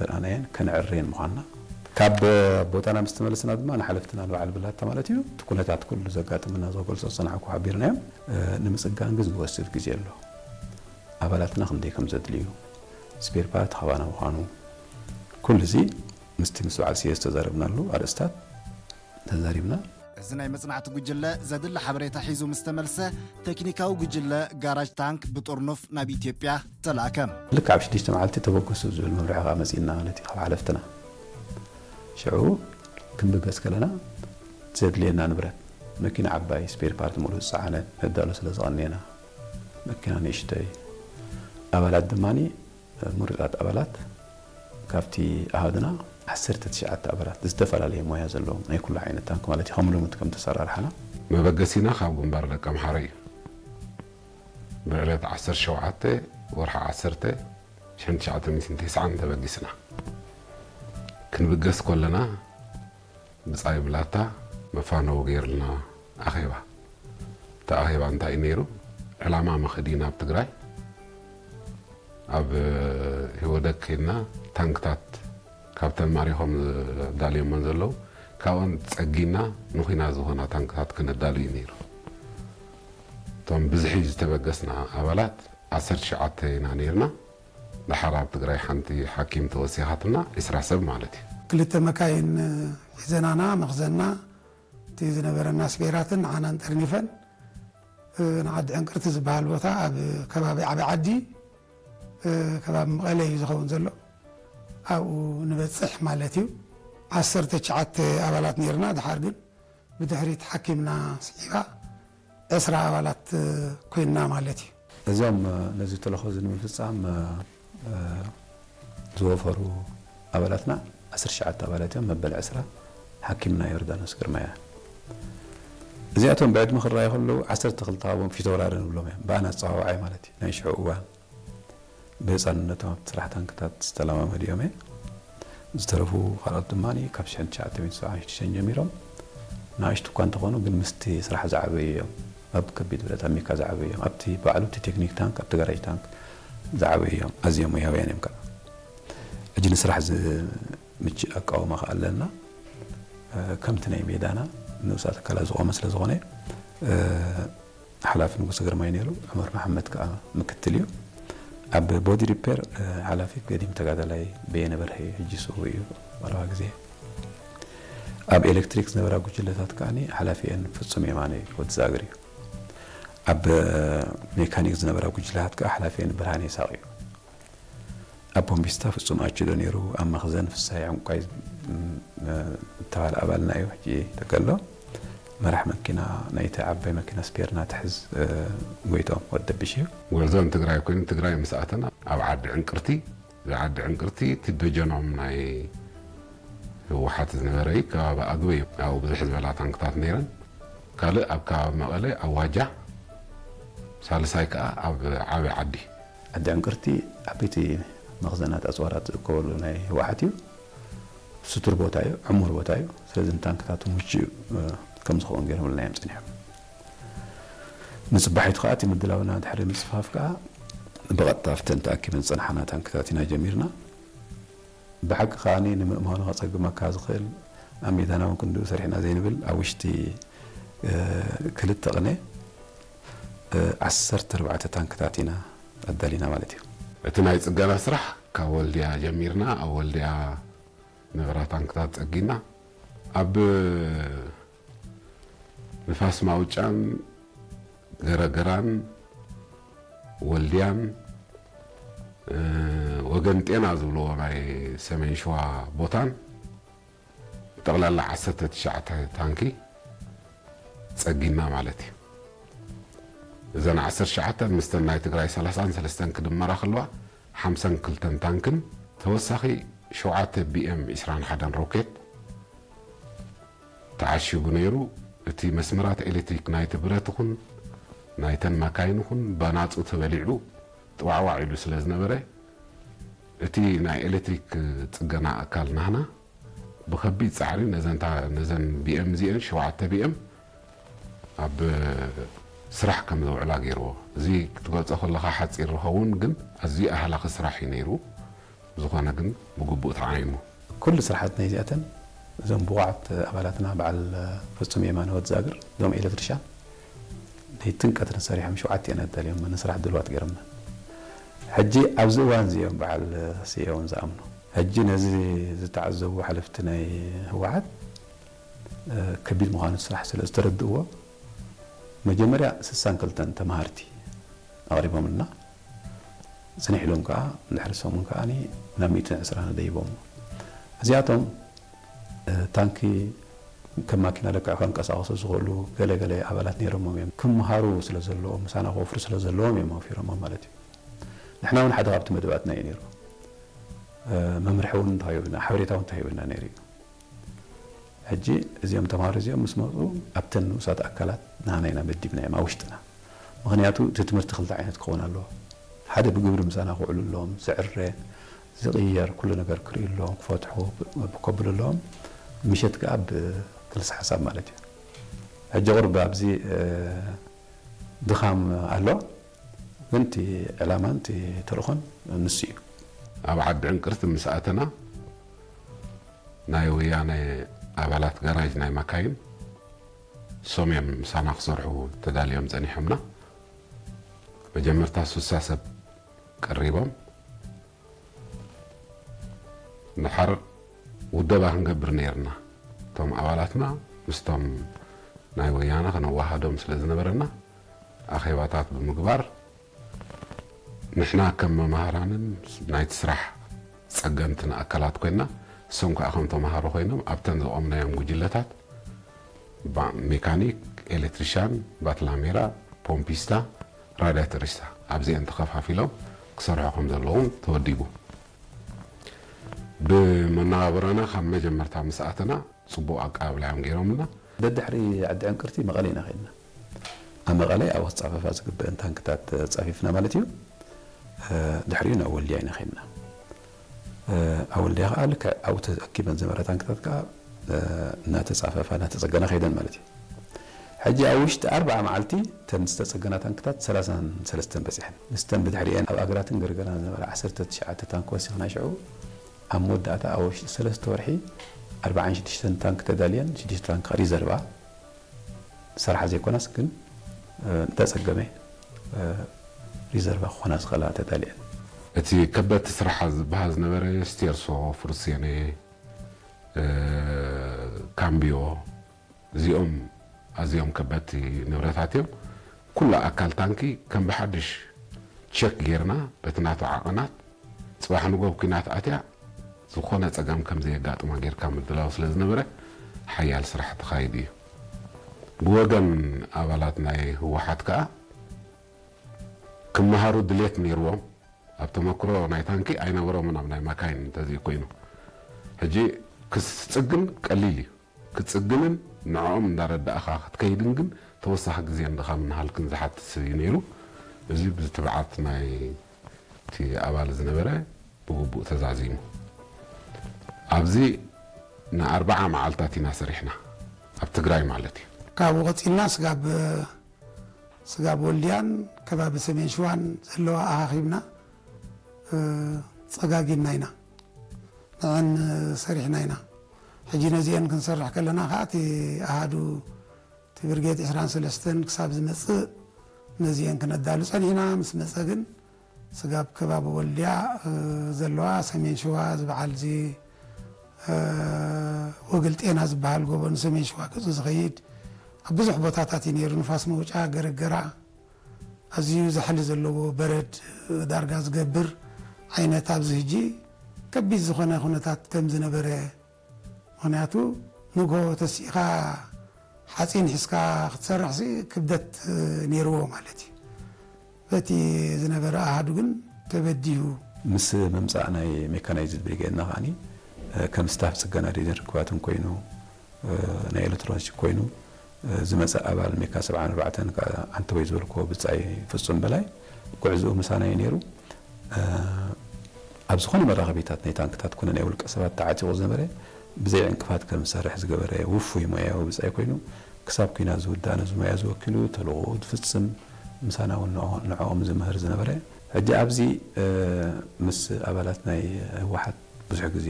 ዘርኣናየን ከነዕርየን ምዃንና፣ ካብ ቦታና ምስ ተመለስና ድማ ንሓለፍትና ንበዓል ብላታ ማለት እዩ፣ እቲ ኩነታት ኩሉ ዘጋጥመና ዝገልጾ ዝጸናሕኩ ሓቢርናዮም። እ፣ ንምጽጋን ግን ዝወስድ ግዜ ኣሎ። ኣባላትና ክንደይ ከም ዘድልዩ፣ ስፔር ፓርት ካባና ምዃኑ፣ ኩሉ እዚ ምስቲ ምስ በዓል ስየ ዝተዛረብናሉ ኣርእስታት ተዛሪብና። እዚ ናይ መጽናዕቲ ጉጅለ ዘድሊ ሓበሬታ ሒዙ ምስ ተመልሰ፣ ቴክኒካዊ ጉጅለ ጋራጅ ታንክ ብጥርኑፍ ናብ ኢትዮጵያ ተላእከ። ልክዕ ኣብ ሽዱሽተ መዓልቲ ተበገሱ ዝብል መምርሒ ከኣ መጺእና ማለት እዩ ካብ ሓለፍትና። ሽዑ ክንብገስ ከለና ዘድልየና ንብረት፣ መኪና ዓባይ፣ ስፔር ፓርት ሙሉእ ዝጸዓነት ነዳሉ ስለ ዝቐነየና፣ መኪና ንእሽተይ፣ ኣባላት ድማኒ ምሩጻት ኣባላት፣ ካብቲ ኣሃዱና ዓሰርተ ትሽዓተ ኣባላት፣ ዝተፈላለየ ሞያ ዘለዎም፣ ናይ ኩሉ ዓይነት ታንክ ማለት እዩ፣ ከም ልሙድ ከም ተሰራርሓና። መበገሲና ካብ ግንባር ደቀምሓረ እዩ። ብዕለት ዓሰርተ ሸውዓተ ወርሒ ዓሰርተ ሽሕን ትሽዓተ ሚእትን ተስዓን ተበጊስና። ክንብገስ ከለና ብጻይ ብላታ መፋነዊ ገይርልና ኣኼባ። እቲ ኣኼባ እንታይ እዩ ነይሩ? ዕላማ መኸዲ ናብ ትግራይ፣ ኣብ ህወደግ ከይድና ታንክታት ካብተን ማሪኾም ዳልዮመን ዘለዉ፣ ካብኦን ጸጊና ንኹናት ዝኾና ታንክታት ክነዳሉ እዩ ነይሩ። እቶም ብዝሒ ዝተበገስና ኣባላት ዓሰርተ ትሽዓተ ኢና ነይርና። ደሓር ኣብ ትግራይ ሓንቲ ሓኪም ተወሲኻትና፣ ዕስራ ሰብ ማለት እዩ። ክልተ መካይን ሒዘናና፣ መኽዘንና፣ እቲ ዝነበረና ስፔራትን ንዓናን ጠርኒፈን፣ እ፣ ንዓዲ ዕንቅርቲ ዝበሃል ቦታ ኣብ ከባቢ ዓቢ ዓዲ፣ እ፣ ከባቢ መቐለ እዩ ዝኸውን ዘሎ። ኣብኡ ንበጽሕ ማለት እዩ። ዓሰርተ ትሽዓተ ኣባላት ነይርና። ደሓር ግን ብድሕሪት ሓኪምና ስዒባ ዕስራ ኣባላት ኮይንና ማለት እዩ። እዞም ነዚ ተልእኾ እዚ ንምፍጻም ዝወፈሩ ኣባላትና ዓሰርተ ትሽዓተ ኣባላት እዮም። መበል ዕስራ ሓኪምና ዮርዳኖስ ግርማ እያ። እዚኣቶም ብዕድመ ክረኣዩ ከለዉ ዓሰርተ ክልተ ካብኦም ፊተውራሪ ንብሎም እዮም፣ ብኣና ኣጸዋውዓይ ማለት እዩ። ናይ ሽዑ እዋን ብህጻንነቶም ኣብቲ ስራሕ ታንክታት ዝተለማመዱ እዮም። ዝተረፉ ካልኦት ድማ ካብ ሽሕን ትሽዓተ ሚእትን ሰብዓን ሽዱሽተን ጀሚሮም ንኣሽቱ እኳ እንተኾኑ፣ ግን ምስቲ ስራሕ ዝዓበዩ እዮም። ኣብ ከቢድ ብረት ኣብ ሜካ ዝዓበዩ እዮም። ኣብቲ ባዕሉ እቲ ቴክኒክ ታንክ፣ ኣብቲ ጋራጅ ታንክ ዝዓበዩ እዮም። ኣዝዮም ሞያውያን እዮም ከዓ። ሕጂ ንስራሕ ዝምችእ ኣቃውማ ከዓ ኣለና። ከምቲ ናይ ሜዳና ንኡሳት ኣካላት ዝቖመ ስለ ዝኾነ፣ ሓላፊ ንጉሰ ግርማይ ነይሩ፣ ዑመር መሓመድ ከኣ ምክትል እዩ። ኣብ ቦዲ ሪፔር፣ እ፣ ሓላፊ ገዲም ተጋዳላይ በየነ በርሀ እዩ፣ ሕጂ ስዉእ እዩ፣ ቀረባ ግዜ። ኣብ ኤሌክትሪክ ዝነበራ ጉጅለታት ከኣ ሓላፊኤን ፍጹም የማነ ወዲ ዛግር እዩ። ኣብ ሜካኒክ ዝነበራ ጉጅለታት ከኣ ሓላፊኤን ብርሃነ ይስሃቕ እዩ። ኣብ ቦምቢስታ ፍጹም ኣችዶ ነይሩ፣ ኣብ መኽዘን ፍሳይ ዕንቋይ፣ ም፣ እ፣ እተባህለ ኣባልና እዩ። ሕጂ ተከሎ መራሕ መኪና ናይቲ ዓባይ መኪና ስፔርና ትሕዝ፣ እ፣ ጎይቶም ወዲ ደብሽ እዩ። ጉዕዞ ንትግራይ ኮይኑ ትግራይ ምስ ኣተና ኣብ ዓዲ ዕንቅርቲ፣ እዚ ዓዲ ዕንቅርቲ እቲ ደጀኖም ናይ ህወሓት ዝነበረ እዩ። ከባቢ ኣግበ እዩ። ኣብኡ ብዝሕ ዝበላ ታንክታት ነይረን። ካልእ ኣብ ከባቢ መቐለ ኣብ ዋጃ፣ ሳልሳይ ከኣ ኣብ ዓቢ ዓዲ። ዓዲ ዕንቅርቲ ዓበይቲ መኽዘናት ኣጽዋራት ዝእከበሉ ናይ ህወሓት እዩ። ስቱር ቦታ እዩ፣ ዕሙር ቦታ እዩ። ስለዚ ንታንክታት ምቹእ፣ እ፣ ከም ዝኸውን ገይሮምልና እዮም ጸኒሖም። ንጽባሒቱ ከኣ እቲ ምድላውና ድሕሪ ምጽፋፍ ከኣ ብቐጥታ ኣብተን ተኣኪበን ዝጸንሓና ታንክታት ኢና ጀሚርና። ብሓቂ ከኣ ንምእማኑ ከጸግመካ ዝኽእል፣ ኣብ ሜዳና እውን ክንድኡ ሰሪሕና ዘይንብል፣ ኣብ ውሽጢ፣ እ፣ ክልተ ቅነ፣ እ፣ ዓሰርተ ኣርባዕተ ታንክታት ኢና ኣዳሊና ማለት እዩ። እቲ ናይ ጽገና ስራሕ ካብ ወልድያ ጀሚርና፣ ኣብ ወልድያ ዝነበራ ታንክታት ጸጊና፣ ኣብ ንፋስ ማውጫን ገረገራን ወልድያን፣ እ፣ ወገን ጤና ዝብልዎ ናይ ሰሜን ሸዋ ቦታን ጠቕላላ ዓሰርተ ትሽዓተ ታንኪ ጸጊና ማለት እዩ። እዘን ዓሰርተ ትሽዓተ ምስተን ናይ ትግራይ ሰላሳን ሰለስተን ክድመራ ከለዋ ሓምሳን ክልተን ታንክን ተወሳኺ ሸውዓተ ቢ ኤም ዕስራን ሓደን ሮኬት ተዓሺጉ ነይሩ። እቲ መስመራት ኤሌክትሪክ ናይቲ ብረት ይኹን ናይተን ማካይን ይኹን ባናጹ ተበሊዑ ጥዋዕዋዕ ኢሉ ስለ ዝነበረ፣ እቲ ናይ ኤሌክትሪክ ጽገና ኣካል ናህና ብኸቢድ ጻዕሪ ነዘን ታ-፣ ነዘን ቢ ኤም እዚኤን፣ ሸውዓተ ቢ ኤም፣ ኣብ ስራሕ ከም ዘውዕላ ገይርዎ። እዚ ክትገልጾ ከለኻ ሓጺር ዝኸውን ግን ኣዝዩ ኣህላኺ ስራሕ እዩ ነይሩ። ዝኾነ ግን ብግቡእ ተዓይኑ። ኩሉ ስራሓት ናይ እዚኣተን እዞም ብቑዓት ኣባላትና በዓል ፍጹም የማነ ወድ ዛግር እዞም ኤሌክትሪሻን ለይትን ቀትርን ሰሪሖም ሸውዓተ እየን ኣዳልዮም ንስራሕ ድልዋት ገይሮምና። ሕጂ ኣብዚ እዋን እዚኦም በዓል ስየ እውን ዝኣምኑ ሕጂ ነዚ ዝተዓዘቡ ሓለፍቲ ናይ ህወሓት ከቢድ ምዃኑ ስራሕ ስለ ዝተረድእዎ መጀመርያ ስሳን ክልተን ተማሃርቲ ኣቕሪቦምልና። ጽንሕ ኢሎም ከዓ ድሕሪ ሰሙን ከዓ ናብ ሚእትን ዕስራን ደይቦም። እዚኣቶም ታንኪ ከም ማኪና ለክዕ ከንቀሳቐሱ ዝኽእሉ ገለ ገለ ኣባላት ነይሮሞም እዮም። ክምሃሩ ስለ ዘለዎም ምሳና ክወፍሩ ስለ ዘለዎም እዮም ኣውፊሮሞም ማለት እዩ። ንሕና እውን ሓደ ካብቲ መደባትና እዩ ነይሩ። መምርሒ እውን ተዋሂቡና፣ ሓበሬታ እውን ተዋሂቡና ነይሩ እዩ። ሕጂ እዚኦም ተምሃሮ እዚኦም ምስ መፁ ኣብተን ንኡሳት ኣካላት ንሃና ኢና መዲብና እዮም ኣብ ውሽጥና። ምኽንያቱ እቲ ትምህርቲ ክልተ ዓይነት ክኸውን ኣለዎ። ሓደ ብግብሪ ምሳና ክውዕሉ ኣለዎም፣ ዝዕረ፣ ዝቕየር ኩሉ ነገር ክርእዩ ኣለዎም፣ ክፈትሑ ከብሉ ኣለዎም። ምሸት ከዓ ብክልሲ ሓሳብ ማለት እዩ። ሕጂ ቁርብ ኣብዚ ድኻም ኣሎ፣ ግን እቲ ዕላማን እቲ ተልእኾን ንሱ እዩ። ኣብ ዓዲ ዕንቅርቲ ምስ ኣተና ናይ ወያነ ኣባላት ጋራጅ ናይ መካይን ሶም እዮም ምሳና ክሰርሑ ተዳልዮም ጸኒሖምና። መጀመርታ ሱሳ ሰብ ቀሪቦም ንሓር ውደባ ክንገብር ነይርና። እቶም ኣባላትና ምስቶም ናይ ወያነ ከነዋሃዶም ስለ ዝነበረና ኣኼባታት ብምግባር ንሕና ከም መማህራንን ናይቲ ስራሕ ጸገምትን ኣካላት ኮይና እሶም ከዓ ከም ተማሃሮ ኮይኖም ኣብተን ዘቆምናዮም ጉጅለታት ሜካኒክ፣ ኤሌክትሪሻን፣ ባትላሜራ፣ ፖምፒስታ፣ ራዳተሪስታ ኣብዚአን ተኸፋፊሎም ክሰርሑ ከም ዘለዎም ተወዲቡ። ብመነባብሮና ካብ መጀመርታ ምስ ኣተና ጽቡቕ ኣቀባብላ እዮም ገይሮምና። ደድሕሪ ዓዲ ዕንቅርቲ መቐለ ኢና ከድና። ኣብ መቐለ ኣብ ወስጥ ጸፈፋ ዝግበአን ታንክታት ጸፊፍና ማለት እዩ። ድሕሪኡ ናብ ወልድያ ኢና ከድና። ኣብ ወልድያ ከዓ ልክዕ ኣብኡ ተኣኪበን ዝነበራ ታንክታት ከዓ እናተጻፈፋ እናተጸገና ከይደን ማለት እዩ። ሕጂ ኣብ ውሽጢ ኣርብዓ መዓልቲ እተን ዝተጸገና ታንክታት ሰላሳን ሰለስተን በጺሐን። ምስተን ብድሕሪአን ኣብ ኣግራትን ገርገራን ዝነበራ ዓሰርተ ትሽዓተ ታንክ ወሲኽና ሽዑ ኣብ መወዳእታ ኣብ ውሽጢ ሰለስተ ወርሒ ኣርብዓን ሽዱሽተን ታንክ ተዳልየን ሽዱሽተ ታንክ ሪዘርቫ ዝሰርሓ ዘይኮናስ ግን እንተጸገመ ሪዘርቫ ክኾና ዝኽእላ ተዳልየን። እቲ ከበድቲ ስራሓ ዝበሃል ዝነበረ ስቴርሶ፣ ፍሩሴነ፣ ካምቢዮ እዚኦም ኣዝዮም ከበድቲ ንብረታት እዮም። ኩሉ ኣካል ታንኪ ከም ብሓድሽ ቸክ ጌርና በቲ ናቱ ዓቐናት ጽባሕ ንጎ ኣብ ኲናት ኣትያ ዝኾነ ጸገም ከም ዘየጋጥማ ጌርካ ምድላው ስለ ዝነበረ ሓያል ስራሕ ተኻይዱ እዩ። ብወገን ኣባላት ናይ ህወሓት ከኣ ክመሃሩ ድሌት ነይርዎም። ኣብ ተመክሮ ናይ ታንኪ ኣይነበሮምን ኣብ ናይ ማካይን እንተዘይ ኮይኑ። ሕጂ ክስጽግን ቀሊል እዩ። ክትጽግንን ንዕኦም እንዳረዳእኻ ክትከይድን ግን ተወሳኺ ግዜን ድኻምን ሃልክን ዝሓትት እዩ ነይሩ። እዚ ብትብዓት ናይ እቲ ኣባል ዝነበረ ብግቡእ ተዛዚሙ። ኣብዚ ንኣርብዓ መዓልታት ኢና ሰሪሕና ኣብ ትግራይ ማለት እዩ። ካብኡ ቀጺልና ስጋብ ስጋብ ወልድያን ከባቢ ሰሜን ሽዋን ዘለዋ ኣኻኺብና ጸጋጊና ኢና ንዐን ሰሪሕና ኢና። ሕጂ ነዚአን ክንሰርሕ ከለና ከዓ እቲ ኣሃዱ እቲ ብርጌድ ዕስራን ሰለስተን ክሳብ ዝመጽእ ነዚአን ክነዳሉ ጸኒሕና። ምስ መጸ ግን ስጋብ ከባቢ ወልድያ ዘለዋ ሰሜን ሽዋ ዝበዓል እዚ ወግል ጤና ዝበሃል ጎቦ ንሰሜን ሽዋ ገጹ ዝኸይድ ኣብ ብዙሕ ቦታታት እዩ ነይሩ። ንፋስ መውጫ፣ ገረገራ፣ ኣዝዩ ዛሕሊ ዘለዎ በረድ ዳርጋ ዝገብር ዓይነት ኣብዚ ሕጂ ከቢድ ዝኾነ ኩነታት ከም ዝነበረ፣ ምኽንያቱ ንግሆ ተሲእኻ ሓፂን ሒዝካ ክትሰርሕሲ ክብደት ነይርዎ ማለት እዩ። በቲ ዝነበረ ኣሃዱ ግን ተበዲሁ። ምስ ምምፃእ ናይ ሜካናይዝድ ብሪጌድና ከዓኒ ከም ስታፍ ፅገና ሬድዮን ርክባትን ኮይኑ ናይ ኤሌክትሮኒክስ ኮይኑ ዝመፀ ኣባል ሜካ ሰብዓን ኣርባዕተን ከዓ ኣንተወይ ዝበልክዎ ብፃይ ፍፁም በላይ ጉዕዝኡ ምሳና እዩ ነይሩ። ኣብ ዝኾነ መራኸቢታት ናይ ታንክታት ኮነ ናይ ውልቀ ሰባት ተዓጢቑ ዝነበረ ብዘይ ዕንቅፋት ከም ዝሰርሕ ዝገበረ ውፉይ ሞያዊ ብፃይ ኮይኑ ክሳብ ኲናት ዝውዳእ ነዚ ሞያ እዚ ወኪሉ ተልእኾኡ ዝፍፅም ምሳና እውን ንዕኦም ዝምህር ዝነበረ ሕጂ ኣብዚ ምስ ኣባላት ናይ ህወሓት ብዙሕ ግዜ